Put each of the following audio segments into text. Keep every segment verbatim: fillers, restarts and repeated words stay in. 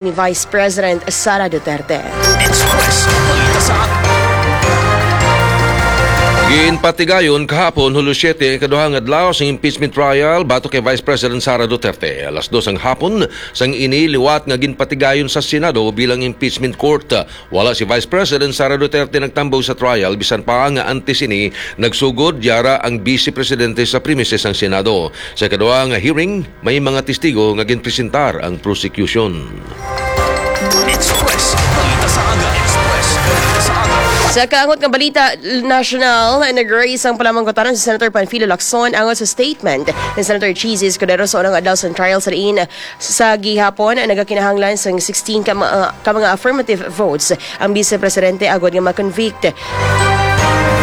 ni Vice President Sara Duterte. Express Balita sa Aga. Ginpatigayon kahapon, Hulyo siete, ang ikaduha nga adlaw sa impeachment trial batok kay Vice President Sara Duterte. Alas dos ang hapon sang ini liwat nga ginpatigayon sa Senado bilang impeachment court. Wala si Vice President Sara Duterte nagtambong sa trial, bisan pa nga antes ini nagsugod yara ang Vice Presidente sa premises sang Senado. Sa ikaduha nga hearing, may mga testigo nga ginpresentar ang prosecution. Express Balita sa Aga. Express Balita sa Aga. Sa kaangot nga balita nasyonal, nag-raise ang palamangkutanan si Senator Panfilo Lacson angot sa statement ni Senator Chiz Escudero sa unang adlaw sang trial sa diin sa gihapon nagakinahanglan sang sixteen ka mga, ka mga affirmative votes ang Vice Presidente agod nga ma-convict.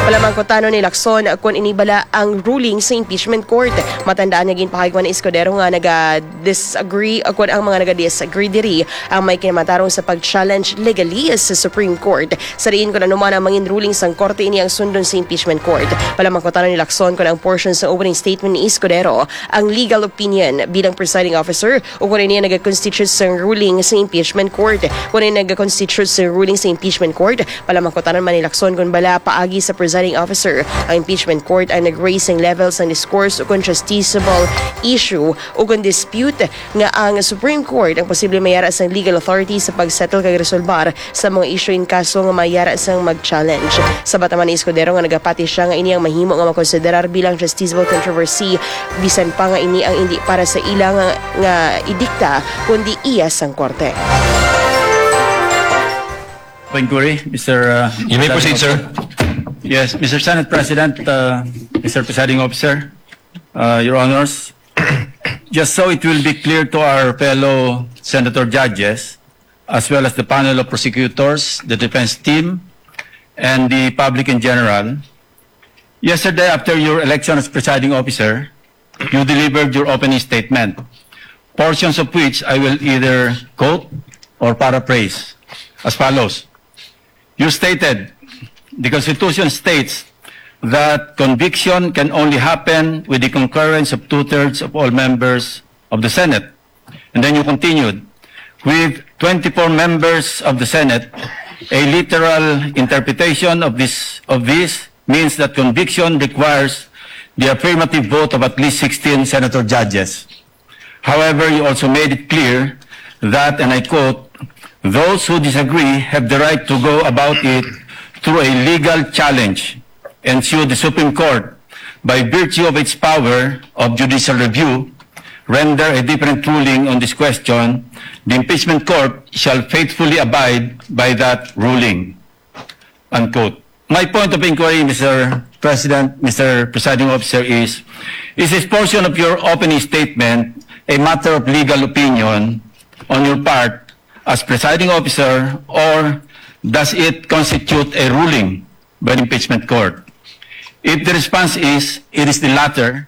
Palamangkutanon ni Lacson kon ini bala ang ruling sa impeachment court. Matandaan nga ginpahayag man ni Escudero nga naga-disagree o kon ang mga naga-disagree diri ang may kinamatarong sa pag-challenge legally sa Supreme Court. Sa diin kon ano man ang mangin ruling sang korte, ini ang sundon sa impeachment court. Palamangkutanon ni Lacson kon ang portion sa opening statement ni Escudero ang legal opinion bilang presiding officer o kon ini ang nagakonstitute sang ruling sa impeachment court. Kon ini nagakonstitute sang ruling sa impeachment court, palamangkutanon man ni Lacson kon bala paagi sa presiding officer ang impeachment court ang nag-raise sang level sang discourse o kon justiciable issue o kon dispute nga ang Supreme Court ang posible mayara sang legal authority sa pag-settle kag resolbar sa mga issue in kaso nga mayara sang mag-challenge. Sabat naman ni Escudero nga nagapati siya nga ini ang mahimo nga makonsiderar bilang justiciable controversy bisan pa nga ini ang indi para sa ila nga, nga idikta kundi iya sang korte. Inquiry, Mister uh, You may proceed, sir. Yes, Mister Senate President, uh, Mister Presiding Officer, uh, Your Honors, just so it will be clear to our fellow Senator judges, as well as the panel of prosecutors, the defense team, and the public in general, yesterday after your election as presiding officer, you delivered your opening statement, portions of which I will either quote or paraphrase as follows. You stated, "The Constitution states that conviction can only happen with the concurrence of two-thirds of all members of the Senate." And then you continued, "With twenty-four members of the Senate, a literal interpretation of this, of this means that conviction requires the affirmative vote of at least sixteen senator judges." However, you also made it clear that, and I quote, "Those who disagree have the right to go about it through a legal challenge and sue the Supreme Court. By virtue of its power of judicial review, render a different ruling on this question, the impeachment court shall faithfully abide by that ruling." Unquote. My point of inquiry, Mister President, Mister Presiding Officer, is, is this portion of your opening statement a matter of legal opinion on your part as presiding officer, or does it constitute a ruling by the impeachment court? If the response is, it is the latter,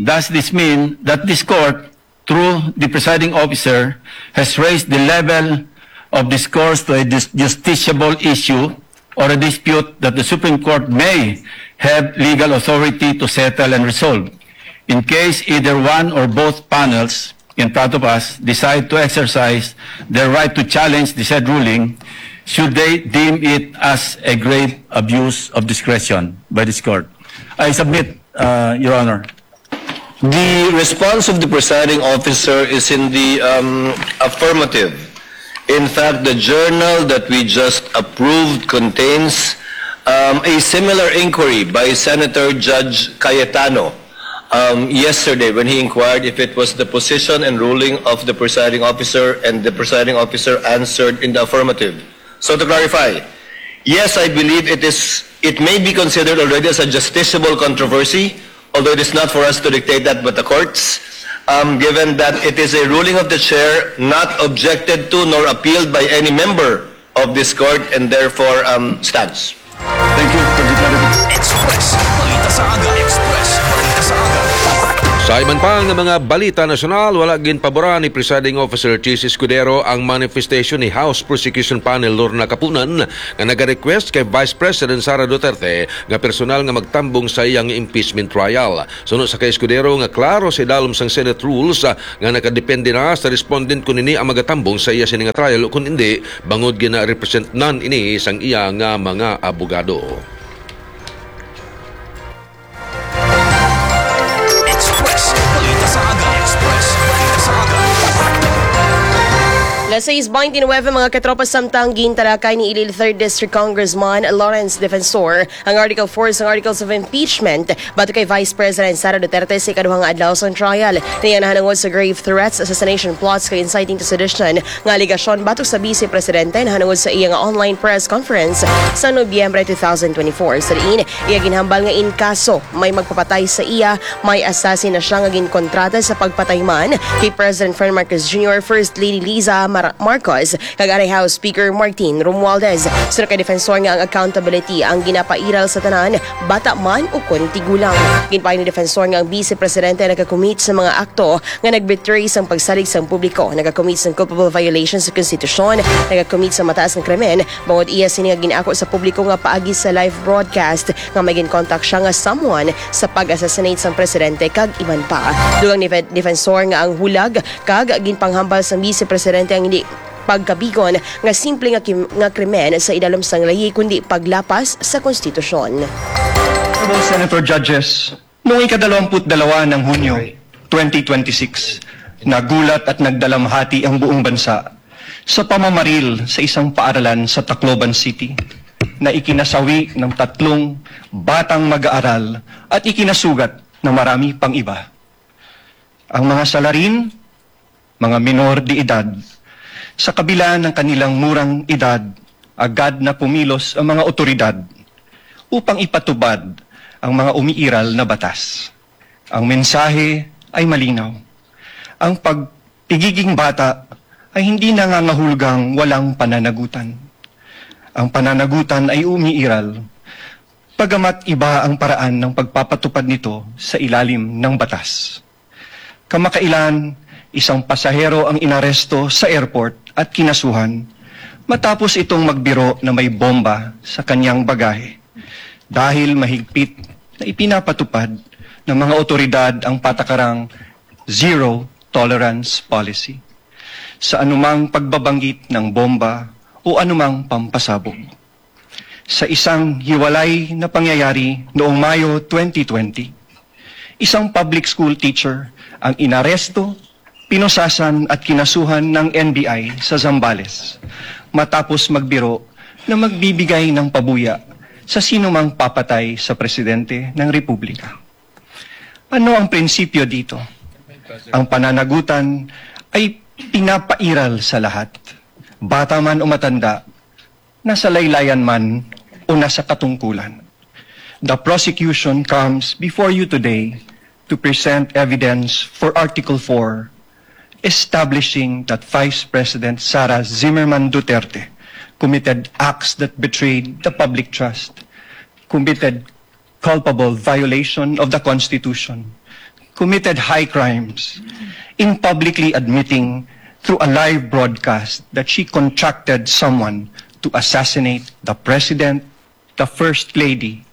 does this mean that this court, through the presiding officer, has raised the level of discourse to a dis- justiciable issue or a dispute that the Supreme Court may have legal authority to settle and resolve? In case either one or both panels in front of us decide to exercise their right to challenge the said ruling, should they deem it as a grave abuse of discretion by this court? I submit, uh, Your Honor. The response of the presiding officer is in the um, affirmative. In fact, the journal that we just approved contains um, a similar inquiry by Senator Judge Cayetano um, yesterday when he inquired if it was the position and ruling of the presiding officer, and the presiding officer answered in the affirmative. So to clarify, yes, I believe it is. It may be considered already as a justiciable controversy, although it is not for us to dictate that but the courts, um, given that it is a ruling of the chair not objected to nor appealed by any member of this court and therefore um, stands. Thank you for the clarification. Express Balita sa Aga. Express Balita sa Aga. Sa Sa iban pa nga mga balita nasyonal, wala ginpaboran ni Presiding Officer Chiz Escudero ang manifestation ni House Prosecution Panel Lorna Kapunan nga nagarequest kay Vice President Sara Duterte nga personal nga magtambong sa iyang impeachment trial. Suno sa kay Escudero nga klaro sa idalom sang Senate rules, ah, nga nakadepende na sa respondent kon ini ang magatambong sa iya sini nga trial o kon indi, bangod gina-represent nan ini sang iya nga mga abogado. Express Balita sa Aga. Express Balita sa Aga. Las sais veintinueve, mga katropa, samtang gintalakay ni Iloilo Third District Congressman Lawrence Defensor ang Article four sang Articles of Impeachment batok kay Vice President Sara Duterte sa ikaduha nga adlaw sang trial. Niya nahanungod sa grave threats, assassination plots, kag inciting to sedition nga alegasyon batok sa Vice Presidente nahanungod sa iya nga online press conference sa Nobyembre two thousand twenty-four. Sa diin, iya ginhambal nga in kaso may magpapatay sa iya, may assassin na siya nga ginkontrata sa pagpatay man kay President Ferdinand Marcos Junior, First Lady Liza Mar- Marcos, kag anay House Speaker Martin Romualdez. Suno kay Defensor nga ang accountability ang ginapairal sa tanan, bata man ukon tigulang. Ginpahayag ni Defensor nga ang Vice Presidente nagakumit sa mga akto nga nagbetray sang pagsalig sang publiko, nagakumit sang culpable violation sa konstitusyon, nagakumit sa mataas nga krimen, bangod iya sini nga gin-ako sa publiko nga paagi sa live broadcast nga may ginkontak siya nga someone sa pag-assassinate sang presidente kag iban pa. Dugang ni Fe- Defensor nga ang hulag kag ginpanghambal sang Vice Presidente ang hindi pagkabigon nga simple nga kim- nga krimen sa idalom sang layi, kundi paglapas sa konstitusyon. Honorable Senator Judges, noong ikadalawamput dalawa ng Hunyo twenty twenty-six, nagulat at nagdalamhati ang buong bansa sa pamamaril sa isang paaralan sa Tacloban City na ikinasawi ng tatlong batang mag-aaral at ikinasugat na marami pang iba. Ang mga salarin, mga minor de edad. Sa kabila ng kanilang murang edad, agad na pumilos ang mga otoridad upang ipatupad ang mga umiiral na batas. Ang mensahe ay malinaw. Ang pagpigiging bata ay hindi nangangahulugang walang pananagutan. Ang pananagutan ay umiiral, bagamat iba ang paraan ng pagpapatupad nito sa ilalim ng batas. Kamakailan, isang pasahero ang inaresto sa airport at kinasuhan matapos itong magbiro na may bomba sa kanyang bagahe, dahil mahigpit na ipinapatupad ng mga otoridad ang patakarang zero tolerance policy sa anumang pagbabanggit ng bomba o anumang pampasabog. Sa isang hiwalay na pangyayari noong Mayo twenty twenty, isang public school teacher ang inaresto, pinusasan at kinasuhan ng N B I sa Zambales matapos magbiro na magbibigay ng pabuya sa sinumang papatay sa presidente ng republika. Ano ang prinsipyo dito? Ang pananagutan ay pinapairal sa lahat, bata man o matanda, nasa laylayan man o nasa katungkulan. The prosecution comes before you today to present evidence for Article four, establishing that Vice President Sara Zimmerman Duterte committed acts that betrayed the public trust, committed culpable violation of the Constitution, committed high crimes in publicly admitting through a live broadcast that she contracted someone to assassinate the President, the First Lady,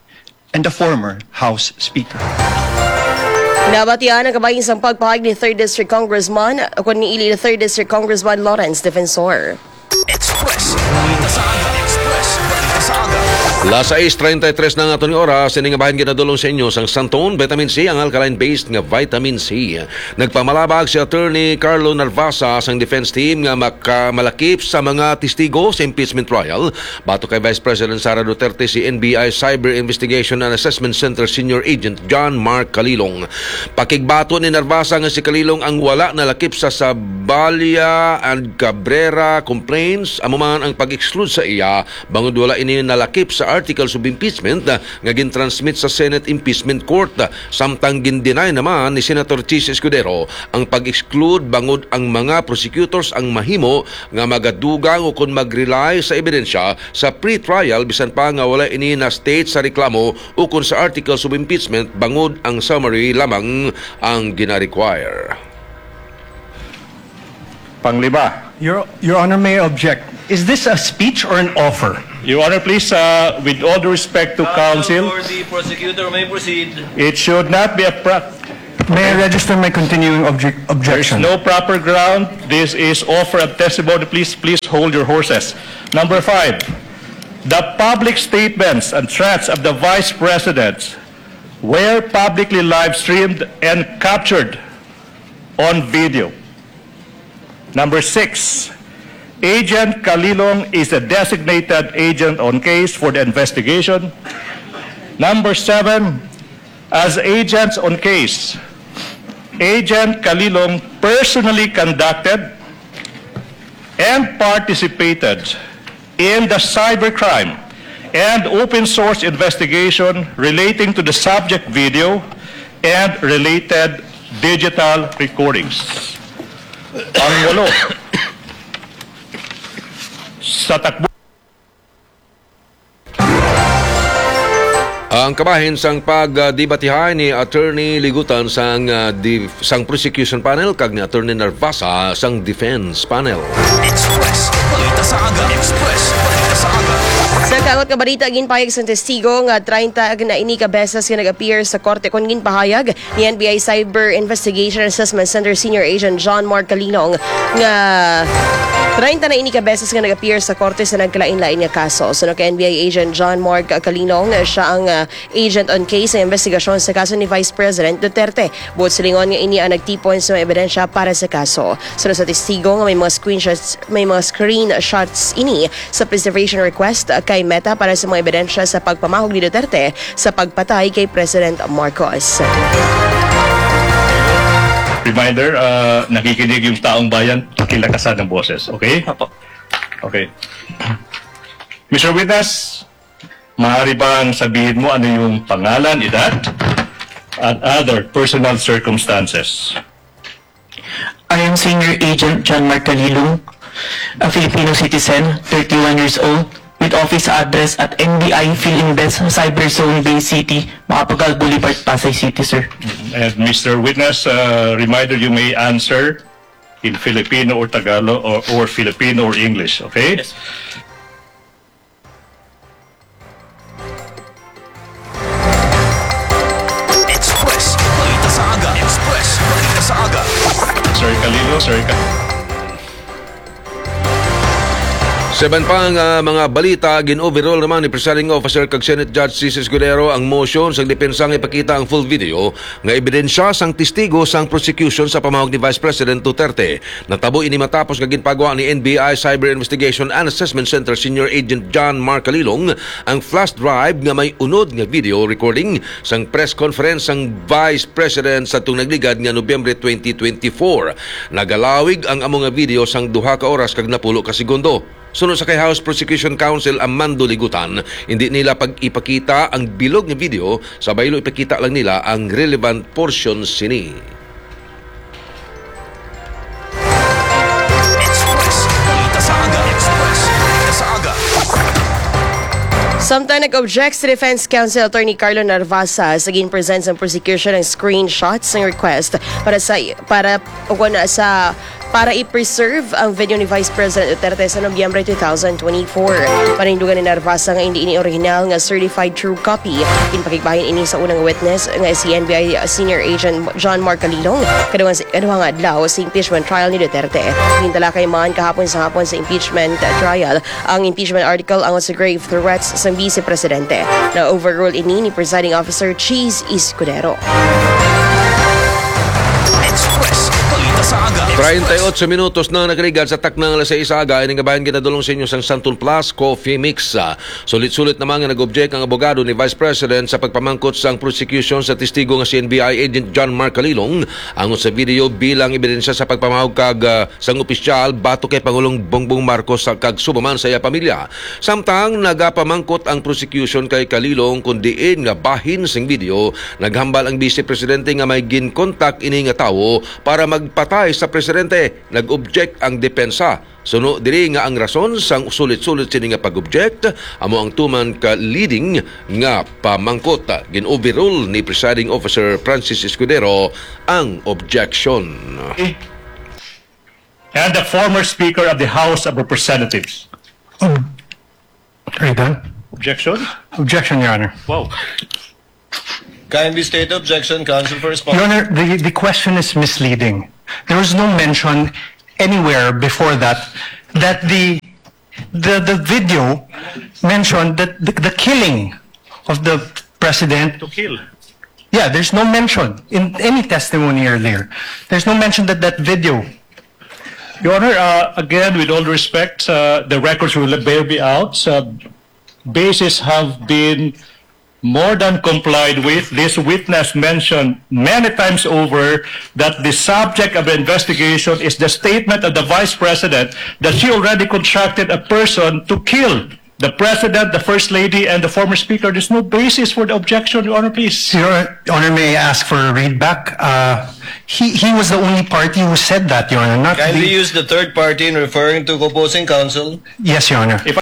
and the former House Speaker. Nabatian ang kabahin sang pagpahayag ni Third District Congressman, o ni Iloilo Third District Congressman Lawrence Defensor. Express Balita sa Aga. Express Balita sa Aga. Las sais treinta y tres na nga aton nga oras, ini nga bahin ginadulong sa inyo sang Santon Vitamin C, ang alkaline-based nga vitamin C. Nagpamalabag si Attorney Carlo Narvasa sang defense team nga makamalakip sa mga testigo sa impeachment trial. Batok kay Vice President Sara Duterte, si N B I Cyber Investigation and Assessment Center Senior Agent John Mark Kalilong. Pakigbato ni Narvasa nga si Kalilong ang wala nalakip sa Saballa and Cabrera complaints, amo man ang pag-exclude sa iya bangod wala ini nalakip sa articles of impeachment, ah, nga gin-transmit sa Senate Impeachment Court. Samtang gin-deny naman ni Senator Chiz Escudero ang pag-exclude bangod ang mga prosecutors ang mahimo nga magadugang o kon mag-rely sa ebidensya sa pre-trial, bisan pa nga wala ini na-state sa reklamo o kon sa articles of impeachment, bangod ang summary lamang ang gina-require. Panglima. Your, Your Honor, may I object. Is this a speech or an offer? Your Honor, please, uh, with all due respect to counsel, for the prosecutor may proceed. It should not be a pra- May I register my continuing object, There is objection? No proper ground. This is offer of testimony. Please, please hold your horses. Number five, the public statements and threats of the Vice President were publicly live streamed and captured on video. Number six, Agent Kalilong is a designated agent on case for the investigation. Number seven, as agents on case, Agent Kalilong personally conducted and participated in the cybercrime and open source investigation relating to the subject video and related digital recordings. Ang walo, sa takbo. Ang kabahin sang pagdebatihay ni Attorney Ligutan sang, ah, dif-, sang prosecution panel kag ni Attorney Narvasa sang defense panel. Express Balita sa Aga. Express Balita sa Aga. Sa kaawat nga balita, ginpahayag sang testigo nga treinta na ini ka beses nga nag-appear sa korte kon ginpahayag ni N B I Cyber Investigation Assessment Center Senior Agent John Mark Kalilong nga treinta na ini ka beses nga nag-appear sa korte sa nagkalain-lain nga kaso. Suno kay N B I Agent John Mark Kalilong, siya ang, ah, agent on case sa investigasyon sa kaso ni Vice President Duterte. Buot silingon nga ini ang nagtipon sa mga ebidensya para sa kaso. Suno sa testigo nga may mga screenshots, may mga screenshots ini sa preservation request kay Meta para sa mga ebidensya sa pagpamahog ni Duterte sa pagpatay kay President Marcos. Reminder, ah, nakikinig yung taong bayan, pakilakasan ng boses, okay? Apo. Okay. Mister Witness, maaari bang sabihin mo ano yung pangalan, edad, and other personal circumstances? I am Senior Agent John Mark Kalilong, a Filipino citizen, thirty-one years old, with office address at N B I Filinvest, Cyber Zone, Bay City, Macapagal Boulevard, Pasay City, sir. And Mister Witness, uh, reminder, you may answer in Filipino or Tagalog or, or Filipino or English, okay? Yes. Express Balita sa Aga. Express Balita sa Aga. Sir Kalilo, Sir Ka- Sa iban pa nga mga balita, gin-overrule naman ni Presiding Officer kag Senate Judge Chiz Escudero ang motion sang depensa nga ipakita ang full video nga ebidensya sang testigo sang prosecution sa pamahog ni Vice President Duterte. Natabo ini matapos nga ginpagwa ni N B I Cyber Investigation and Assessment Center Senior Agent John Mark Kalilong ang flash drive nga may unod nga video recording sang press conference sang Vice President sa tong nagligad nga Nobyembre twenty twenty-four. Nagalawig ang amo nga video sang duha ka oras kag napulo ka segundo. Suno sa kay House Prosecution Counsel Amando Ligutan, hindi nila pag-ipakita ang bilog nga video, sa baylo ipakita lang nila ang relevant portion sini. Express Balita sa Aga. Express Balita sa Aga. Samtang nag-object si Defense Counsel Attorney Carlo Narvasa sa gin-present sang prosecution ang screenshots ng request para sa, para, o kung sa para i-preserve ang video ni Vice President Duterte sa Nobyembre two thousand twenty-four. Panindugan ni Narvasa nga indi ini original nga certified true copy. Ginpakigbahin ini sa unang witness nga si N B I Senior Agent John Mark Kalilong kaduhang, kaduhang adlaw sa impeachment trial ni Duterte. Gintalakay man kahapon sa hapon sa impeachment trial ang impeachment article angot sa grave threats sa Vice Presidente. Na-overrule ini ni Presiding Officer Chiz Escudero. Express Balita sa Aga. Treinta y ocho minutos na nakaligad sa takna nga alas sais sa aga, ining kabahin ginadulong sa inyo sang Santon Plus Coffee Mix. Ah, sulit-sulit naman nga nag-object ang abogado ni Vice President sa pagpamangkot sang prosecution sa testigo nga C N B I agent John Mark Kalilong angot sa video bilang ebidensya sa pagpamahog kag, ah, sang opisyal batok kay Pangulong Bongbong Marcos sa kag subaman sa iya pamilya. Samtang nagapamangkot ang prosecution kay Kalilong kon diin nga bahin sing video, naghambal ang Vice Presidente nga may ginkontak ini nga tawo para magpatay sa presidente. Nag-object ang depensa. Suno diri nga ang rason sang sulit-sulit sini nga pag-object amo ang tuman ka leading nga pamangkot. Gin-overrule ni Presiding Officer Francis Escudero ang objection. And the former Speaker of the House of Representatives. Are you done? Objection? Objection, Your Honor. Wow. Kindly state the objection, counsel, for response. Your Honor, the, the question is misleading. There was no mention anywhere before that, that the, the, the video mentioned that the, the killing of the president. To kill. Yeah, there's no mention in any testimony earlier. There's no mention that that video. Your Honor, uh, again, with all respect, uh, the records will bear me out. Uh, bases have been more than complied with. This witness mentioned many times over that the subject of the investigation is the statement of the Vice President that she already contracted a person to kill the President, the First Lady, and the former Speaker. There's no basis for the objection, Your Honor, please. Your Honor, may I ask for a read back? Uh, he, he was the only party who said that, Your Honor, not Kindly the use the third party in referring to opposing counsel. Yes, Your Honor. If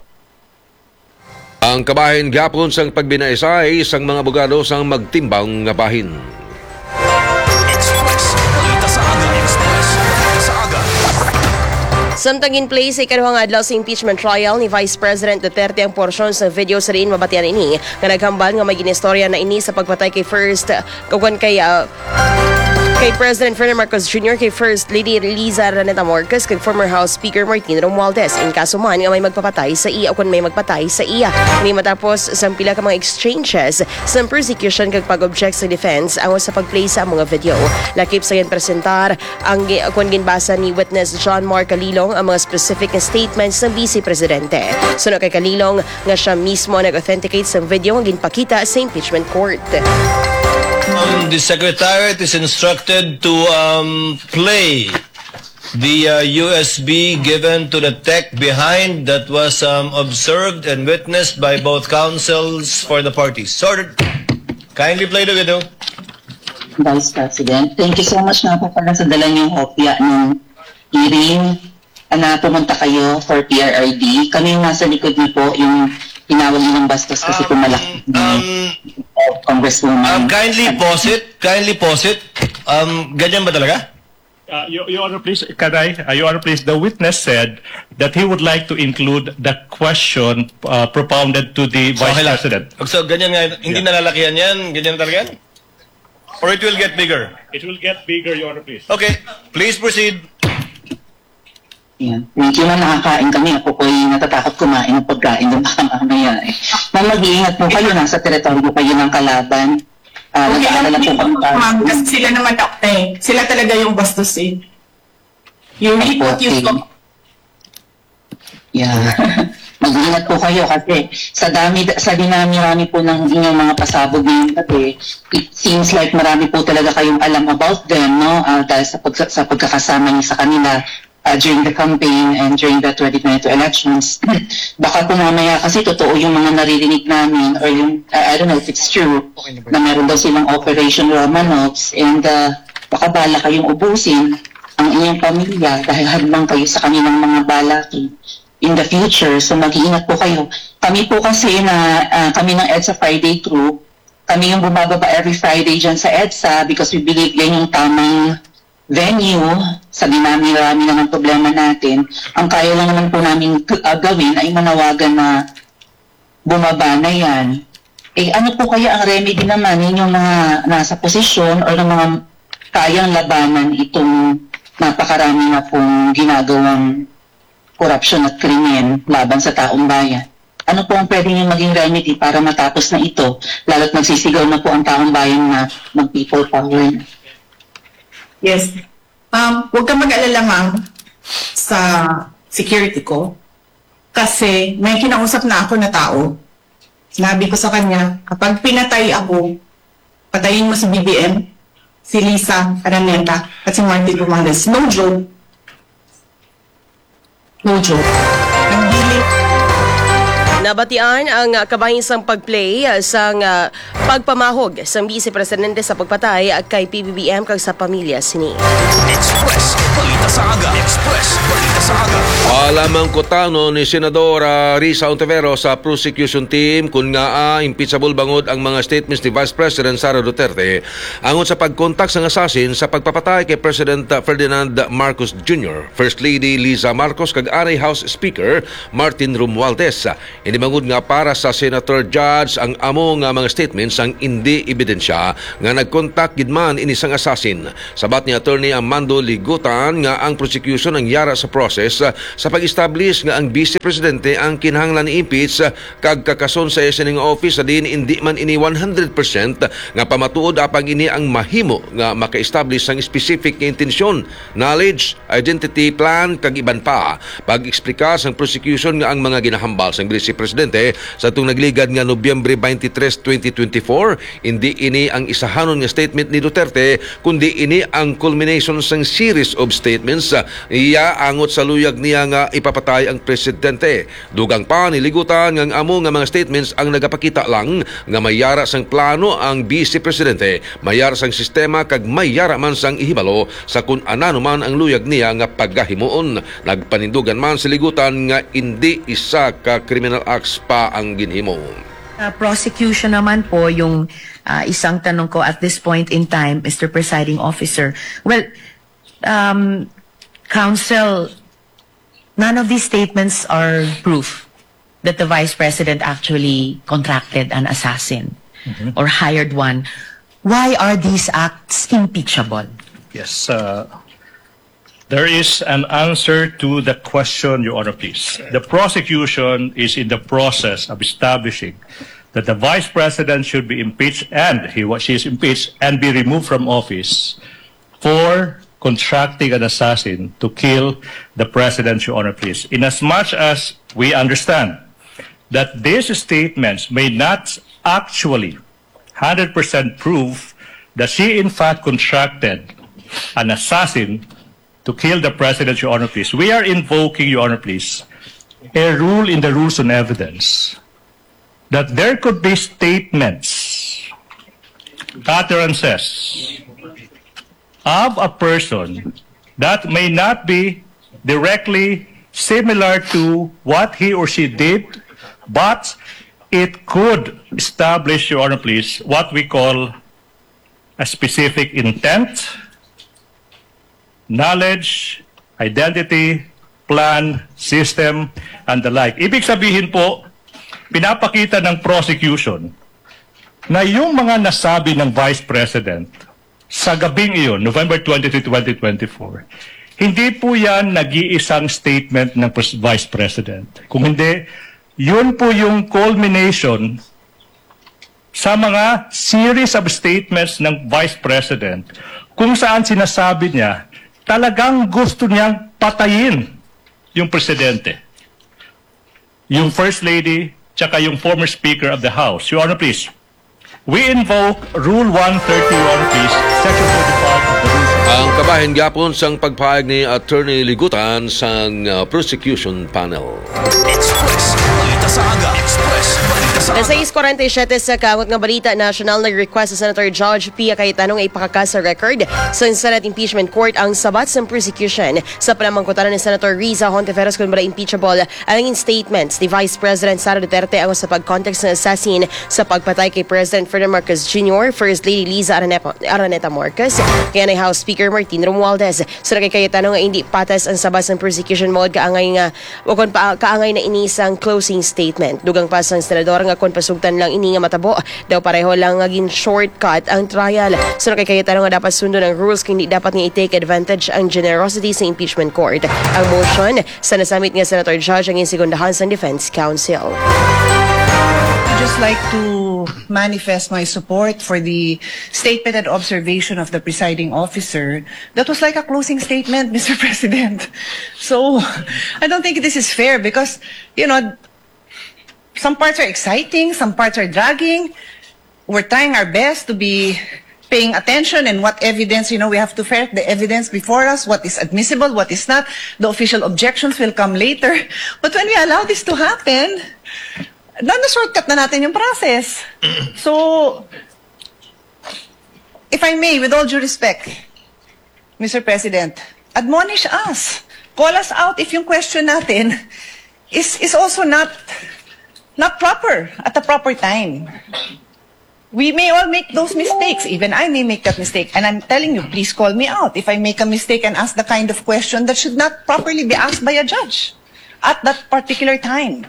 Ang kabahin gihapon sang pagbinaysay sang mga abogado sang magtimbang nga bahin. Express. Balita sa aga. Express. Balita sa aga. Samtang gin-play sa ikaduhang adlaw sa impeachment trial ni Vice President Duterte ang porsyon sa video sa diin mabatian ini nga naghambal nga may ginistorya na ini sa pagpatay kay First, ukon kay, ah, kay President Ferdinand Marcos Junior, kay First Lady Liza Araneta Marcos, kag former House Speaker Martin Romualdez, in kaso man nga may magpapatay sa iya o kon may magpatay sa iya. Ini matapos sang pila ka mga exchanges sa prosecution kag pag-object sa defense angot sa pag-play sa mga video. Lakip sa ginpresentar ang gi-, kon ginbasa ni Witness John Mark Kalilong ang mga specific nga statements sa Vice Presidente. Suno kay Kalilong, nga siya mismo ang nag-authenticate sa video nga ginpakita sa impeachment court. Um, the Secretariat is instructed to, um, play the, uh, U S B given to the tech behind that was, um, observed and witnessed by both counsels for the parties. Sir, kindly play the video. Vice President, thank you so much nga po pala sa dala niyong kopya ng hearing. Ana, pumunta kayo for P R R D. Kami yung nasa likod niyo po, yung tinawag nilang bastos kasi po malaki. Um, um, Congresswoman. Um, kindly pause it. Kindly pause it. Um, ganyan ba talaga? Uh, Your, Your Honor, please, can I, uh, Your Honor, please, the witness said that he would like to include the question, uh, propounded to the So, Vice okay lang. President. So, ganyan nga, hindi Yeah. nalalakihan yan? Ganyan talaga yan? Or it will get bigger? It will get bigger, Your Honor, please. Okay, please proceed. Yan. Thank you, ma'am. Nakakain kami. Ako po'y natatakot kumain ng pagkain ng baka mamaya eh. Ma'am, mag-iingat po kayo. Nasa teritoryo kayo ng kalaban. Ah, Okay lang nag-aalala po po, kami para ma'am, kasi sila naman, eh, sila talaga yung bastos eh. You reap Opo, what you okay. sow. Yeah. Mag-ingat po kayo kasi sa dami, sa dinami-rami po ng inyong mga pasabog ngayong gabi, it seems like marami po talaga kayong alam about them, no? Ah, dahil sa pagka-, sa pagkakasama niyo sa kanila, ah, during the campaign and during the twenty twenty-two elections. Baka po mamaya kasi totoo yung mga naririnig namin or yung, ah, I don't know if it's true, na meron daw silang Operation Romanovs and, ah, baka bala kayong ubusin ang inyong pamilya dahil hadlang kayo sa kanilang mga balak in the future. So, mag-iingat po kayo. Kami po kasi na, ah, kami ng EDSA Friday Crew, kami yung bumababa every Friday dyan sa EDSA because we believe yan yung tamang venue. Sa dinami-rami na ng problema natin, ang kaya lang naman po namin, ah, gawin ay manawagan na bumaba na yan. Eh, ano po kaya ang remedy naman ninyong mga nasa posisyon o ng mga kayang labanan itong napakarami na pong ginagawang korupsyon at krimen laban sa taong bayan? Ano po ang pwede niyong maging remedy para matapos na ito? Lalo't nagsisigaw na po ang taong bayan na mag-people power na. Yes. Um, huwag ka mag-alala, ma'am, sa security ko. Kasi may kinausap na ako na tao. Sinabi ko sa kanya, kapag pinatay ako, patayin mo si B B M, si Liza Araneta, at si Martin Romualdez. No joke. No joke. Nagdili. Nabatian ang kabahin sang pag-play sang, ah, pagpamahog sang Vice Presidente sa pagpatay kay P B B M kag sa pamilya sini. Express Balita sa Aga. Express Balita sa Aga. Alamang kutano ni Senadora Risa Ontiveros sa prosecution team kun ngaa impeachable bangod ang mga statements ni Vice President Sara Duterte angot sa pagkontak sang assassin sa pagpapatay kay President Ferdinand Marcos Junior, First Lady Liza Marcos kag anay House Speaker Martin Romualdez. Ini bangod nga para sa Senator Judge ang amo nga mga statements ang indi ebidensya nga nagkontak gid man ini sang assassin. Sabat ni Attorney Armando Ligutan nga ang prosecution ang yara sa process, ah, sa pag-establish nga ang Vice Presidente ang kinahanglan i-impeach, ah, kag kakason sa sining office sa diin indi man ini one hundred percent nga pamatuod apang ini ang mahimo nga maka-establish sang specific nga intensyon, knowledge, identity, plan, kag iban pa. Pag-eksplika sang prosecution nga ang mga ginahambal sang Vice Presidente sa atong nagligad nga Nobyembre twenty-three, twenty twenty-four, indi ini ang isahanon nga statement ni Duterte, kundi ini ang culmination sang series of statements, ah, iya angot sa luyag niya nga ipapatay ang presidente. Dugang pa ni Ligutan nga ang amo nga mga statements ang nagapakita lang nga may yara sang plano ang Vice Presidente, may yara sang sistema kag may yara man sang ihibalo sa kun anano man ang luyag niya nga pagahimuon. Nagpanindugan man si Ligutan nga indi isa ka criminal acts pa ang ginhimo. Sa prosecution naman po, yung, ah, isang tanong ko at this point in time, Mister Presiding Officer. Well, um, counsel, none of these statements are proof that the vice president actually contracted an assassin or hired one. Why are these acts impeachable? Yes, uh, there is an answer to the question, Your Honor, please. The prosecution is in the process of establishing that the vice president should be impeached and he wa- she is impeached and be removed from office for contracting an assassin to kill the president, Your Honor, please. In as much as we understand that these statements may not actually hundred percent prove that she in fact contracted an assassin to kill the president, Your Honor, please. We are invoking, Your Honor, please, a rule in the rules on evidence that there could be statements, utterances of a person that may not be directly similar to what he or she did, but it could establish, Your Honor, please, what we call a specific intent, knowledge, identity, plan, system, and the like. Ibig sabihin po, pinapakita ng prosecution na yung mga nasabi ng Vice President sa gabing iyon, November twenty-three, twenty twenty-four, hindi po yan nag-iisang statement ng pres- Vice President. Kung hindi, yun po yung culmination sa mga series of statements ng Vice President kung saan sinasabi niya talagang gusto niyang patayin yung presidente, yung First Lady, tsaka yung former Speaker of the House. Your Honor, please. We invoke Rule one thirty-one, please, Section thirty-five of the Rules of Ang kabahin gyapon sang pagpahayag ni Attorney Ligutan sang, uh, prosecution panel. Express Balita sa Aga. Express Balita sa Aga. Sa sais kuwarenta y siyete sa kaangot nga balita, national nag-request sa Senator Judge Pia Cayetano nga ipakaka sa record sa Senate Impeachment Court ang sabat sang prosecution sa panamangkutanan ni Senator Risa Hontiveros kon bala impeachable ang statements ni Vice President Sara Duterte angot sa pag-contact sa assassin sa pagpatay kay President Ferdinand Marcos Junior, First Lady Liza Araneta, Araneta Marcos, kay anay House Speaker Martin Romualdez. Suna kay Cayetano nga indi patas ang sabat sang prosecution mode kaangay nga o kon pa, kaangay na ini sang closing statement. Dugang pa sang senador nga kon pasugtan lang ini nga matabo, daw pareho lang nga gin-shortcut ang trial. Suna kay Cayetano nga dapat sundon ang rules kay hindi dapat nga i-take advantage ang generosity sa impeachment court. Ang motion sa nasamit nga senator judge ang insegundahan sang defense counsel. Just like to manifest my support for the statement and observation of the presiding officer. That was like a closing statement, Mister President. So, I don't think this is fair because, you know, some parts are exciting, some parts are dragging. We're trying our best to be paying attention and what evidence, you know, we have to ferret the evidence before us, what is admissible, what is not. The official objections will come later. But when we allow this to happen, na na-shortcut na natin yung process. So, if I may, with all due respect, Mister President, admonish us. Call us out if yung question natin is, is also not, not proper at the proper time. We may all make those mistakes. Even I may make that mistake. And I'm telling you, please call me out if I make a mistake and ask the kind of question that should not properly be asked by a judge at that particular time.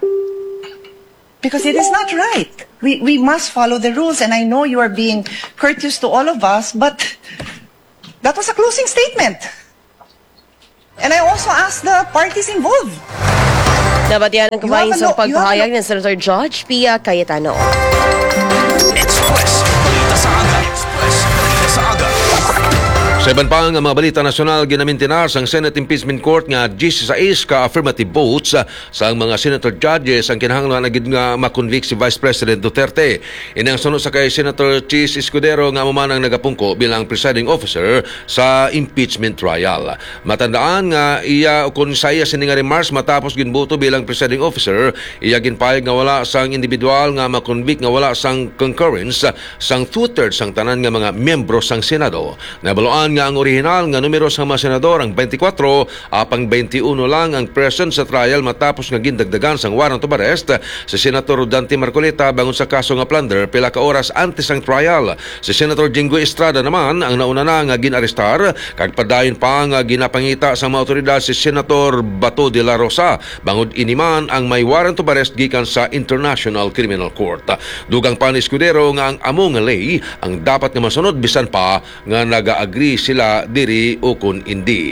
Because it is not right. We, we must follow the rules, and I know you are being courteous to all of us, but that was a closing statement. And I also ask the parties involved. Nabatian ang kabahin sa pagpahayag ni Senator Judge Pia Cayetano. Express Balita sa Aga. Express Balita sa Aga. Sa iban pa nga mga balita nasyonal, ginamintinar sang Senate Impeachment Court nga diyesisais ka affirmative votes sang mga senator judges ang kinahanglan agud nga makonvict si Vice President Duterte. Ini ang suno sa kay Senator Chiz Escudero nga amo man ang nagapungko bilang presiding officer sa impeachment trial. Matandaan nga iya ukon sa iya sini nga remarks matapos ginboto bilang presiding officer, iya ginpahayag nga wala sang individual nga makonvict nga wala sang concurrence sang two-thirds sang tanan nga mga miyembro sang Senado. Nabaluan nga ang orihinal nga numero sang mga senador ang twenty-four, apang twenty-one lang ang present sa trial matapos nga gindagdagan sang warrant of arrest si Senator Dante Marcoleta bangod sa kaso nga plunder pila ka oras antes sang trial. Si Senator Jinggoy Estrada naman ang nauna na nga gin-arestar, kag padayon pa nga ginapangita sang mga awtoridad si Senator Bato de la Rosa bangod ini man ang may warrant of arrest gikan sa International Criminal Court. Dugang pa ni Escudero nga ang amo nga ley ang dapat nga masunod bisan pa nga naga-agree sila diri ukon indi.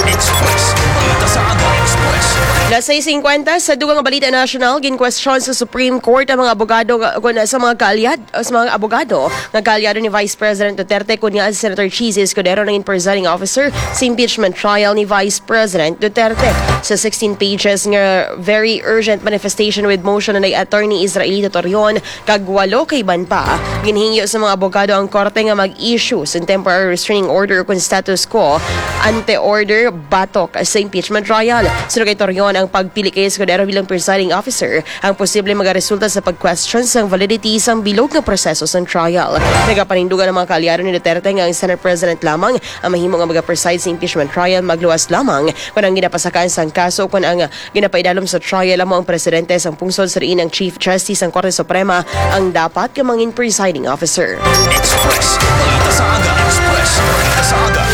Express. Balita sa Aga. Express. Las sais singkwenta, sa dugang nga balita nasyonal, ginkwestiyon sa Supreme Court ang mga abogado nga, kun sa mga kaalyad, sa mga abogado nga kaalyado ni Vice President Duterte, kun nga si Senator Chiz Escudero nangin presiding officer sa impeachment trial ni Vice President Duterte. Sa sixteen pages nga very urgent manifestation with motion ni Attorney Israelito Torion, kag walo ka iban pa, ginhingyo sa mga abogado ang korte nga mag-issue sa temporary restraining order o kon status quo ante order batok sa impeachment trial. Suno kay Torion, ang pagpili kay Escudero bilang presiding officer ang posible magaresulta sa pag-question sang validity sang bilog nga proseso sang trial. Nagapanindugan ang mga kaalyado ni Duterte nga ang Senate President lamang ang mahimo nga magapreside sa impeachment trial, magluwas lamang kon ang ginapasakaan sang kaso kon ang ginapaidalom sa trial amo ang presidente sang pungsod, sa diin ang Chief Justice sang Korte Suprema ang dapat nga mangin presiding officer. Express. Balita sa Aga. Express. Balita sa Aga.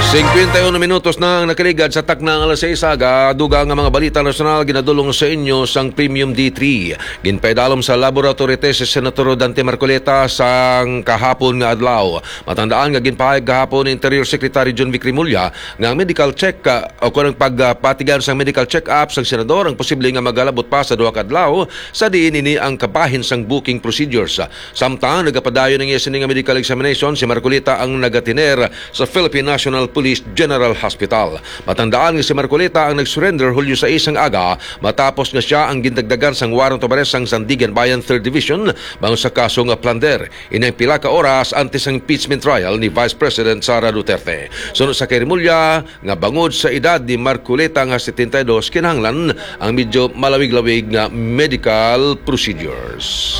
Singkwenta y uno minutos na ang nakaligad sa takna nga alas sais aga. Dugang nga mga balita nasyonal ginadulong sa inyo sang Premium D three. Ginpaidalom sa laboratory test si Senator Dante Marcoleta sang kahapon nga adlaw. Matandaan nga ginpahayag gahapon ni Interior Secretary John Vic Remulla nga ang medical check, ah, o kon ang pagpatigan sang medical check-up sang senador ang posible nga magalabot pa sa duha ka adlaw, sa diin ini ang kabahin sang booking procedures. Samtang nagapadayon ang iya sini nga medical examination, si Marcoleta ang nagatiner sa Philippine National Police General Hospital. Matandaan nga si Marcoleta ang nag-surrender Hulyo sais sang aga matapos nga sia ang gindagdagan sang warrant of arrest sang Sandiganbayan Third Division bangod sa kaso nga plunder. Ini ang pila ka oras antes sang impeachment trial ni Vice President Sara Duterte. Suno sa kay Remulla nga bangod sa edad ni Marcoleta nga setenta y dos, kinahanglan ang medyo malawig-lawig nga medical procedures.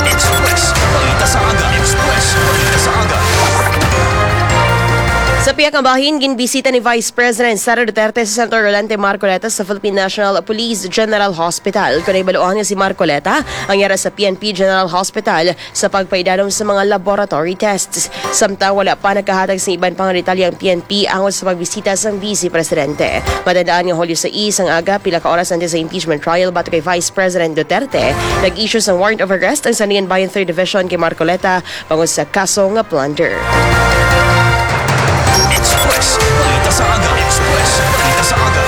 Express. Balita sa Aga. Express. Balita sa Aga. Sa pihak nga bahin, ginbisita ni Vice President Sara Duterte si Senator Rolante Marcoleta sa Philippine National Police General Hospital. Kon nahibaloan nga si Marcoleta ang yara sa P N P General Hospital sa pagpaidalom sa mga laboratory tests. Samtang wala pa nagkahatag sa iban pang detalye ang P N P angot sa pagbisita sang Vice Presidente. Matandaan nga Hulyo sais sang aga, pila ka oras antes sa impeachment trial batok kay Vice President Duterte, nag-issue sang warrant of arrest ang Sandiganbayan Third Division kay Marcoleta bangod sa kaso nga plunder. Express. Balita sa Aga. Express. Balita sa Aga.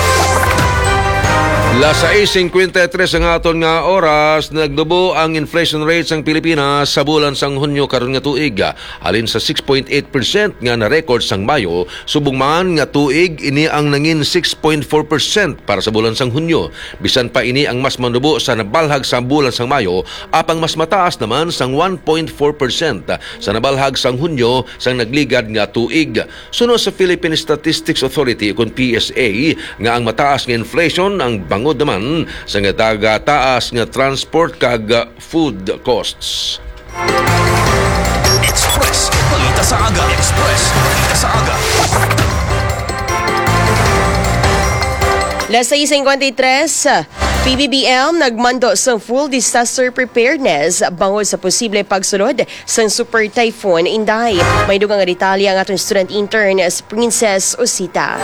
Alas sais singkwenta y tres ang aton nga oras, nagnubo ang inflation rate sang Pilipinas sa bulan sang Hunyo karon nga tuig. Halin sa six point eight percent nga na-record sang Mayo, subong man nga tuig ini ang nangin six point four percent para sa bulan sang Hunyo. Bisan pa ini ang mas manubo sa nabalhag sa bulan sang Mayo, apang mas mataas naman sang one point four percent sa nabalhag sang Hunyo sang nagligad nga tuig. Suno sa Philippine Statistics Authority, ukon P S A, nga ang mataas nga inflation ang bangod naman sa nga taas nga transport kag food costs. Express Balita sa Aga. Express Balita sa Aga. Las sais singkwenta y tres, P B B M nagmando sa full disaster preparedness bangod sa posible pagsulod sang Super Typhoon Inday. May dugang nga detalye ang aton student intern, si Princess Osita.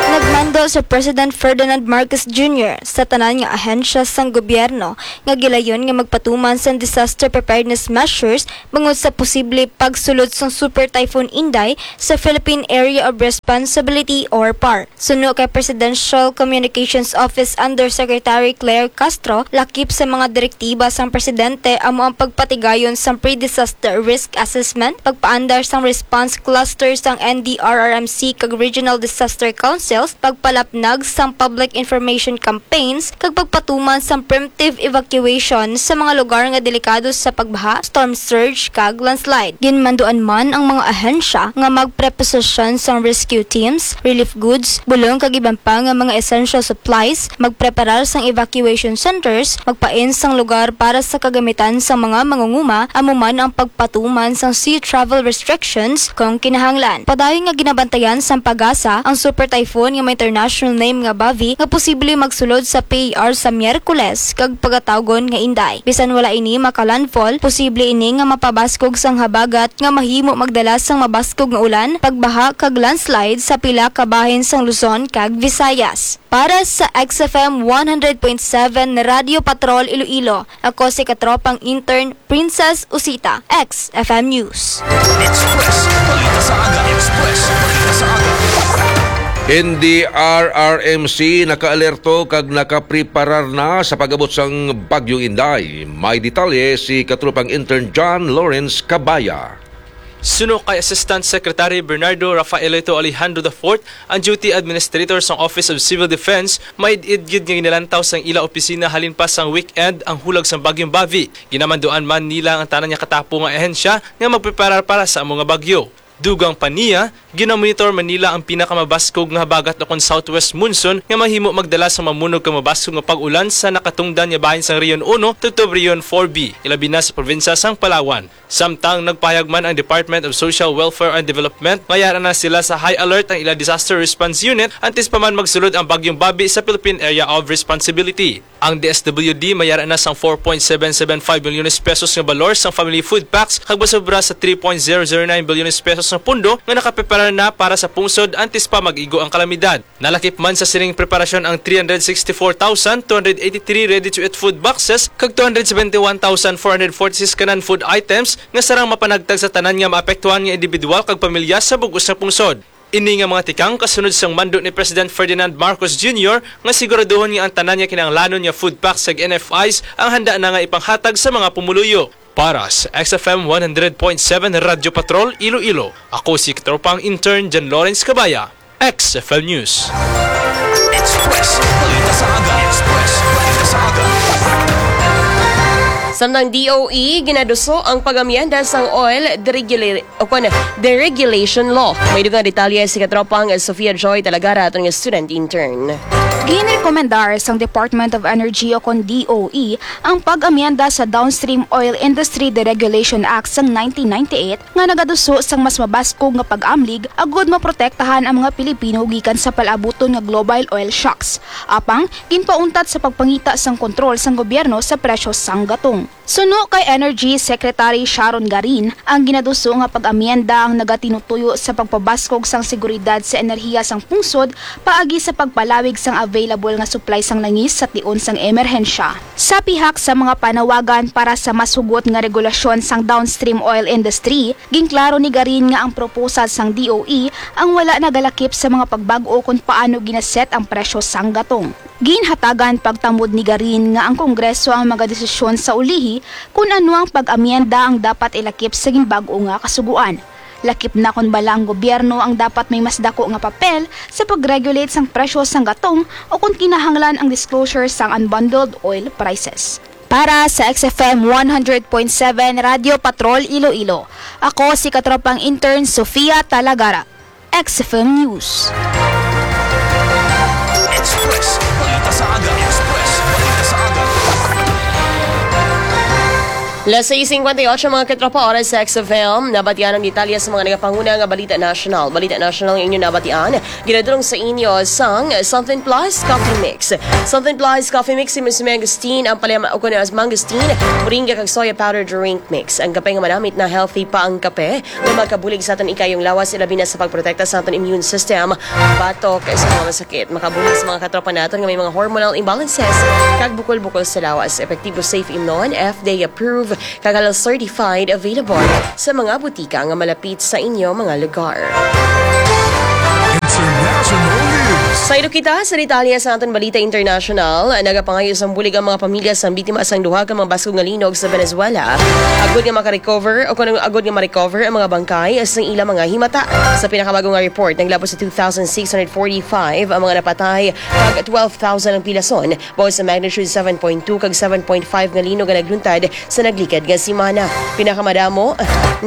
Nagmando si President Ferdinand Marcos Junior sa tanan nga ahensya sang gobyerno nga gilayon nga magpatuman sang disaster preparedness measures bangod sa posible pagsulod sang Super Typhoon Inday sa Philippine Area of Responsibility or PAR. Suno kay Presidential Communications Office Undersecretary Claire Castro, lakip sa mga direktiba sang presidente amo ang pagpatigayon sang pre-disaster risk assessment, pagpaandar sang response cluster sang N D R R M C kag regional disaster councils, pagpalapnag sang public information campaigns, kag pagpatuman sang preemptive evacuation sa mga lugar nga delikado sa pagbaha, storm surge, kag landslide. Ginmanduan man ang mga ahensya nga magpreposisyon sang rescue teams, relief goods, bulong kag iban pa nga mga essential supplies, magpreparar sang evacuation centers, magpain sang lugar para sa kagamitan sang mga mangunguma, amo man ang pagpatuman sang sea travel restrictions kung kinahanglan. Padayon nga ginabantayan sang PAGASA ang super typhoon nga may international name nga Bavi nga posible magsulod sa P A R sa Miyerkules kag pagatawgon nga Inday. Bisan wala ini maka-landfall, posible ini nga mapabaskog sang habagat nga mahimo magdala sang mabaskog nga ulan, pagbaha kag landslide sa pila ka bahin sang Luzon kag Visayas. Para sa X F M one hundred point seven Radyo Patrol Iloilo, ako si katropang intern Princess Usita, X F M News. Express Balita sa Aga. Express Balita sa Aga. N D R R M C nakaalerto kag nakapreparar na sa pag-abot sang Bagyong Inday. May detalye si katropang intern John Lawrence Cabaya. Suno kay Assistant Secretary Bernardo Rafaelito Alejandro the fourth, ang duty administrator sang Office of Civil Defense, maid-id gid nga ginalantaw sang ila opisina halin pa sang weekend ang hulag sang Bagyong Bavi. Ginamanduan man nila ang tanan nga katapo nga ahensya nga magpreparar para sa amo nga bagyo. Dugang pa niya, ginamonitor man nila ang pinakamabaskog nga habagat ukon southwest monsoon nga mahimo magdala sa mamunog kag mabaskog nga pag-ulan sa nakatungdan nga bahin sang Region Uno tubtob Region Four B, ilabi na sa probinsya sang Palawan. Samtang nagpahayag man ang Department of Social Welfare and Development nga yara na sila sa high alert ang ila disaster response unit antes pa man magsulod ang Bagyong Babi sa Philippine Area of Responsibility. Ang D S W D may yara na sang four point seven seven five milyones pesos nga balor sang family food packs kag masobra sa three point zero zero nine bilyones pesos nga pondo nga nakapreparar na para sa pungsod antes pa mag-igo ang kalamidad. Nalakip man sa sining preparasyon ang three hundred sixty-four thousand two hundred eighty-three ready-to-eat food boxes kag two hundred seventy-one thousand four hundred forty-six ka non-food items nga sarang mapanagtag sa tanan nga maapektuhan nga individual kag pamilya sa bug-os nga pungsod. Ini nga mga tikang kasunod sang mando ni President Ferdinand Marcos Junior nga siguraduhon nga ang tanan nga kinahanglanon nga food packs kag N F Is ang handa na nga ipanghatag sa mga pumuluyo. Para sa X F M one hundred point seven Radyo Patrol Iloilo, ako si Katropang Intern John Lawrence Cabaya, X F M News. Express Balita sa Aga. Express Balita sa Aga. Samtang D O E, ginaduso ang pag-amyenda sang oil deregula-, o kon, deregulation law. May dugang detalye si Katropang Sofia Joy Talagara, aton nga student intern. Ginrekomendar sang Department of Energy o kon D O E ang pag-amyenda sa Downstream Oil Industry Deregulation Act sang nineteen ninety-eight nga nagaduso sang mas mabaskog nga pag-amlig agud maprotektahan ang mga Pilipino gikan sa palabuton nga global oil shocks. Apang, ginpauntat sa pagpangita sang kontrol sang gobyerno sa presyo sang gatong. Suno kay Energy Secretary Sharon Garin, ang ginaduso nga pag-amyenda ang nagatinutuyo sa pagpabaskog sang seguridad sa enerhiya sang pungsod paagi sa pagpalawig sang available nga supply sang langis sa tion sang emerhensya. Sa pihak sa mga panawagan para sa mas hugot nga regulasyon sang downstream oil industry, ginklaro ni Garin nga ang proposal sang D O E ang wala nagalakip sa mga pagbag-o kon paano ginaset ang presyo sang gatong. Ginhatagan pagtamod ni Garin nga ang Kongreso ang magadesisyon sa ulihi kon ano ang pag-amyenda ang dapat ilakip sa ginbag-o nga kasugoan. Lakip na kon bala ang gobyerno ang dapat may mas dako nga papel sa pag-regulate sang presyo sang gatong o kon kinahanglan ang disclosure sang unbundled oil prices. Para sa X F M one hundred point seven Radyo Patrol Iloilo, ako si katropang intern Sofia Talagara. X F M News. Express Balita sa Aga. Express Balita sa Aga. Las seis cincuenta y ocho, mga katropa, oras sa X F M. Nabatian ang detalye sa mga nagapanguna nga balita nasyonal. Balita nasyonal ang inyo nabatian. Ginadulong sa inyo sang Something Plus Coffee Mix. Something Plus Coffee Mix, si Miss Mangosteen, ang palaya o kuno as mangosteen, moringa kag soya powder drink mix. Ang kape nga manamit na healthy pa ang kape. Nga makabulig sa aton ikayong lawas, ilabi na sa pagprotekta sa aton immune system batok sa mga masakit. Makabulig sa mga katropa naton nga may mga hormonal imbalances kag bukol-bukol sa lawas. Epektibo, safe imnon, F D A approved, kag halal certified, available sa mga butika nga malapit sa inyo mga lugar. International News. Saylo kita sa detalye sa aton balita international. Nagapangayo sang bulig ang mga pamilya sang biktima sang duha ka mga baskog nga linog sa Venezuela, agod nga makarecover o kon agod nga ma-recover ang mga bangkay sang ila mga himata. Sa pinakabag-o nga report, naglabot sa two thousand six hundred forty-five ang mga napatay, kag twelve thousand ang pilason, bangod sa magnitude seven point two kag seven point five nga linog nga nagluntad sa naglikad nga semana. Pinakamadamo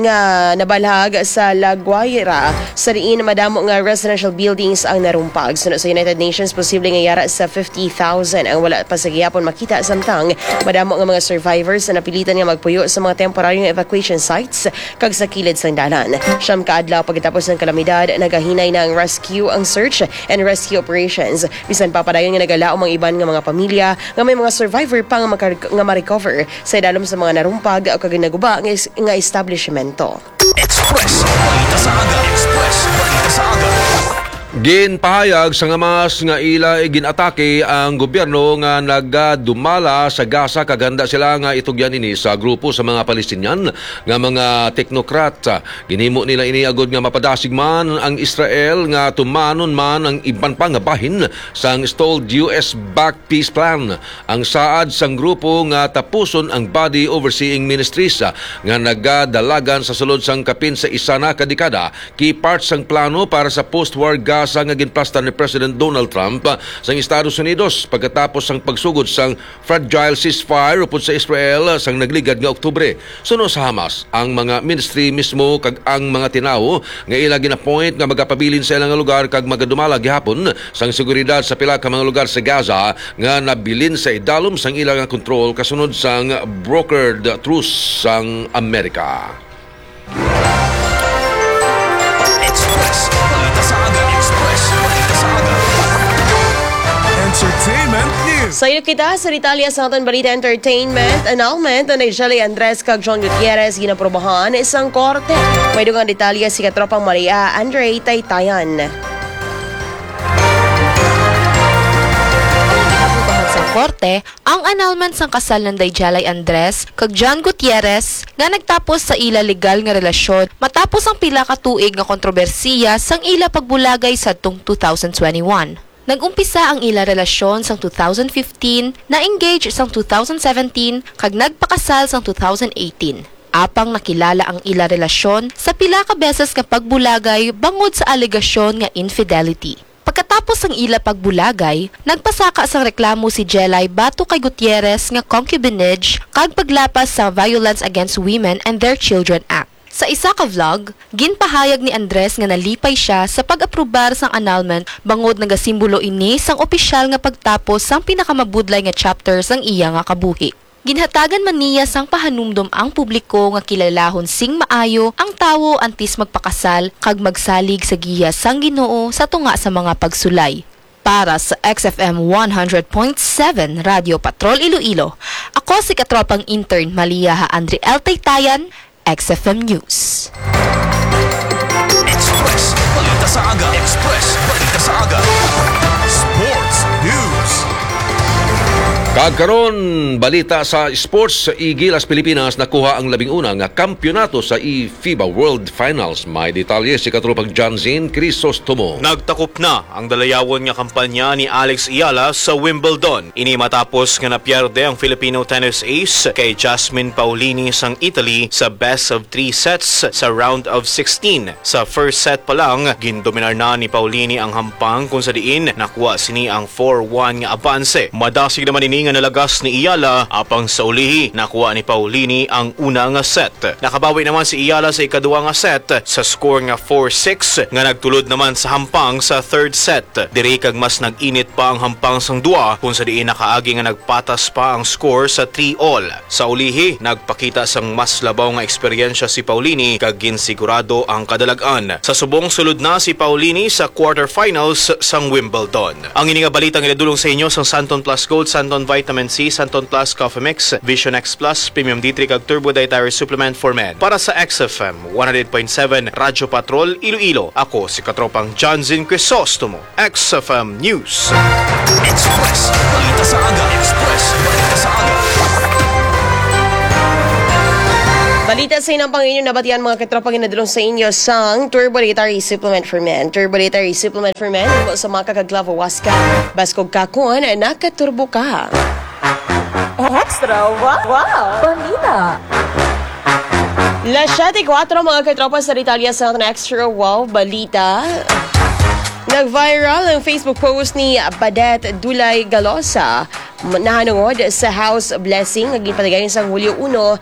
nga nabalhag sa La Guaira, sa diin madamo nga residential buildings ang narumpag. Suno sa United Nations, posible nga yara sa fifty thousand ang wala pa sa gihapon makita, samtang madamo nga mga survivors ang napilitan nga magpuyo sa mga temporaryong evacuation sites kag sa kilid sang dalan. Siyam ka adlaw pagkatapos ng kalamidad, nagahinay na ang rescue, ang search and rescue operations. Bisan pa, padayon nga nagalaom ang iban nga mga pamilya nga may mga survivor pa nga maka-, nga ma-recover sa idalom sa mga narumpag o kag naguba nga is-, nga establishmento. Express Balita sa Aga. Express Balita sa Aga. Ginpahayag sang Hamas nga ila ginatake ang gobyerno nga nagadumala sa Gaza, kag handa sila nga itugyan ini sa grupo sa mga Palestinian nga mga teknokrat. Ginhimo nila ini agod nga mapadasig man ang Israel nga tumanon man ang iban pa nga bahin sang stalled U S-backed peace plan. Ang saad sang grupo nga tapuson ang Body Overseeing Ministries, ah, nga nagadalagan sa sulod sang kapin sa isa na ka dekada, key part sang plano para sa post-war Gaza nga ginplastar ni President Donald Trump, ah, sang Estados Unidos pagkatapos sang pagsugod sang fragile ceasefire upod sa Israel, ah, sang nagligad nga Oktubre. Suno sa Hamas, ang mga ministry mismo kag ang mga tinawo nga ila gin-appoint nga magapabilin sa ila nga lugar kag magadumala gihapon sang seguridad sa pila ka mga lugar sa Gaza nga nabilin sa idalom sang ila nga kontrol kasunod sang brokered truce sang Amerika. Express Balita sa Aga. Express Balita sa Aga. Entertainment News. Sayop kita sa detalye sa aton balita entertainment. Annulment ni Jelly Andres kag John Gutierrez ginaprobahan sang korte. May dugang detalye si katropang Maria Andre Taytayan. Ang ginaprobahan sa korte ang annulment sang kasal nanday Jelly Andres kag John Gutierrez nga nagtapos sa ila legal nga relasyon matapos ang pila ka tuig nga kontrobersiya sang ila pagbulagay sadtong two thousand twenty-one. Nag-umpisa ang ila relasyon sang two thousand fifteen, na-engage sang two thousand seventeen, kag nagpakasal sang two thousand eighteen. Apang nakilala ang ila relasyon sa pila ka beses nga pagbulagay bangod sa alegasyon nga infidelity. Pagkatapos sang ila pagbulagay, nagpasaka sang reklamo si Jelly batok kay Gutierrez nga concubinage kag paglapas sa Violence Against Women and Their Children Act. Sa isa ka vlog, ginpahayag ni Andres nga nalipay sia sa pag-aprobar sang annulment bangod nagasimbolo ini sang opisyal nga pagtapos sang pinakamabudlay nga chapter sang iya nga kabuhi. Ginhatagan man niya sang pahanumdom ang publiko nga kilalahon sing maayo ang tawo antes magpakasal kag magsalig sa giya sang Ginoo sa tunga sa mga pagsulay. Para sa X F M one hundred point seven Radyo Patrol Iloilo, ako si katropang intern Malia ha Andre L Taytayan, X F M News. Express Balita sa Aga. Express Balita sa Aga. Sports News. Kag karon, balita sa sports. Sa Gilas Pilipinas nakuha ang labing una nga kampiyonato sa i FIBA World Finals. May detalye si katropang John Zin Crisostomo. Nagtakop na ang dalayawon nga kampanya ni Alex Eala sa Wimbledon. Ini matapos nga napierde ang Filipino tennis ace kay Jasmine Paolini sang Italy sa best of three sets sa round of sixteen. Sa first set pa lang, gindominar na ni Paolini ang hampang, kung sa diin nakuha sini ang four one nga abanse. Madasig naman ini nga nalagas ni Eala, apang sa ulihi nakuha ni Paolini ang una nga set. Nakabawi naman si Eala sa ikaduha nga set sa score nga four six, nga nagtulod naman sa hampang sa third set. Diri kag mas nag-init pa ang hampang sang duwa, kung sa diin nakaagi nga nagpatas pa ang score sa three all. Sa ulihi, nagpakita sang mas labaw nga eksperyensya si Paolini kag ginsigurado ang kadalag-an. Sa subong, sulod na si Paolini sa quarterfinals sang Wimbledon. Ang ini nga balita ginadulong sa inyo sang Santon Plus Gold, Santon Vitamin C, Santon Plus Coffee Mix, Vision X Plus, Premium D three kag Turbo Dietary Supplement for Men. Para sa X F M one hundred point seven Radyo Patrol Iloilo, ako si katropang Johnson Crisostomo, X F M News. Express Balita sa Aga. Express Balita sa Aga. Balita sa inang Panginoon nabatian, mga katropa, ginadulong sa inyo sang Turbo Dietary Supplement for Men. Turbo Dietary Supplement for Men, imo sa maka kag Clavo Huasca. Baskog ka kon nakaturbo ka. Extra wow, wow. Balita. Las siyete kuwatro, mga katropa, sa detalye sa aton Extra Wow Balita. Nag-viral ang Facebook post ni Badet Dulay Galosa nahanungod sa house blessing nga ginpatigayon sang Hulyo uno,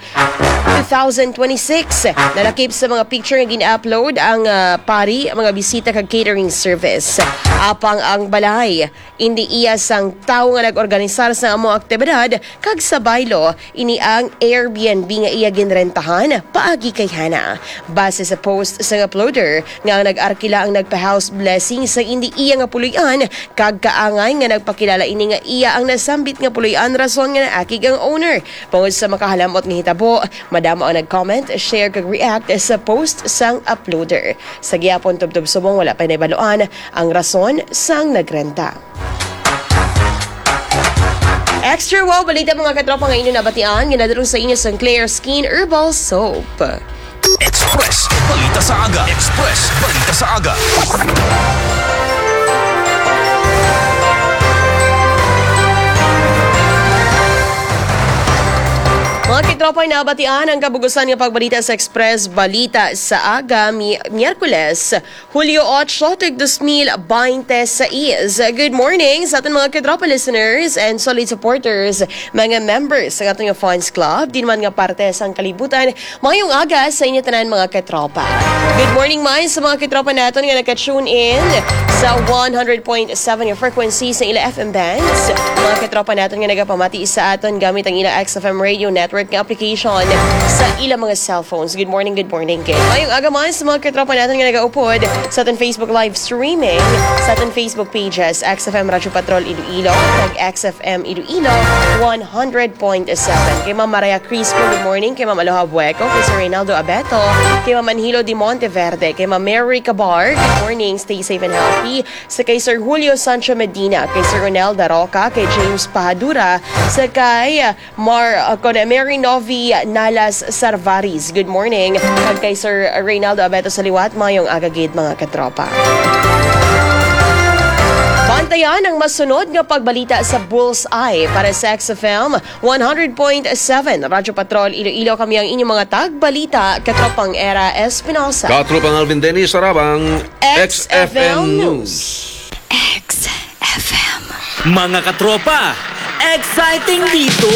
two thousand twenty-six. Nalakip sa mga picture nga gin-upload ang ah, pari, mga bisita kag catering service. Apang ang balay indi iya sang tawo nga nag-organisar sa among aktibidad, kag sa baylo, ini ang Airbnb nga iya ginrentahan paagi kay Hana. Base sa post sang uploader nga ang nag-arkila ang nagpa-house blessing sa indi iya nga puloy-an, kag kaangay nga nagpakilala ini nga iya ang nasambit nga puloy-an, rason nga naakig ang owner. Bangod sa makahalamot nga hitabo, madamo ang nag-comment, share kag react sa post sang uploader. Sa gihapon, tubtob subong wala pa nahibaluan ang rason sang nagrenta. Extra wow balita, mga katropa, nga inyo nabatian, ginadulong sa inyo sang Clear Skin Herbal Soap. Express Balita sa Aga. Express Balita sa Aga. Mga katropa, nabatian ang kabugusan nga pagbalita sa Express Balita sa Aga, Mi-, Miyerkules, Hulyo ocho, tuig dos mil baynte sais. Good morning sa aton mga katropa listeners and solid supporters, mga members sa aton nga fans club, di man nga parte sang kalibutan. Mayong aga sa inyo tanan, mga katropa. Good morning man sa mga katropa naton nga naka-tune in sa one hundred point seven nga frequency sa ila F M bands. Mga katropa naton nga nagapamati sa aton gamit ang ila X F M Radio Network nga application sa ila mga cellphones. Good morning, good morning, kay mayong aga man sa mga katropa naton nga nagaupod sa aton Facebook live streaming, sa aton Facebook pages, X F M Radyo Patrol Iloilo, kag X F M Iloilo one hundred point seven. Kay Ma'am Maria Crispo, good morning. Kay Ma'am Aloha Bueco, kay Sir Reynaldo Abeto, kay Ma'am Anhilo de Monteverde, kay Ma'am Mary Cabar, good morning, stay safe and healthy. Sa kay Sir Julio Sancho Medina, kay Sir Ronel Daroca, kay James Pahadura, sa kay Mar, uh, kon Mary Novi Nalas Sarvaris, good morning. Kag kay Sir Reynaldo Abeto sa liwat, mayong aga gid, mga katropa. Bantayan ang masunod nga pagbalita sa Bullseye para sa X F M one hundred point seven Radyo Patrol Iloilo. Kami ang inyong mga tagbalita, katropang Era Espinosa. Katropang Alvin Dennis Sarabang, X F M News. X F M. Mga katropa, exciting dito!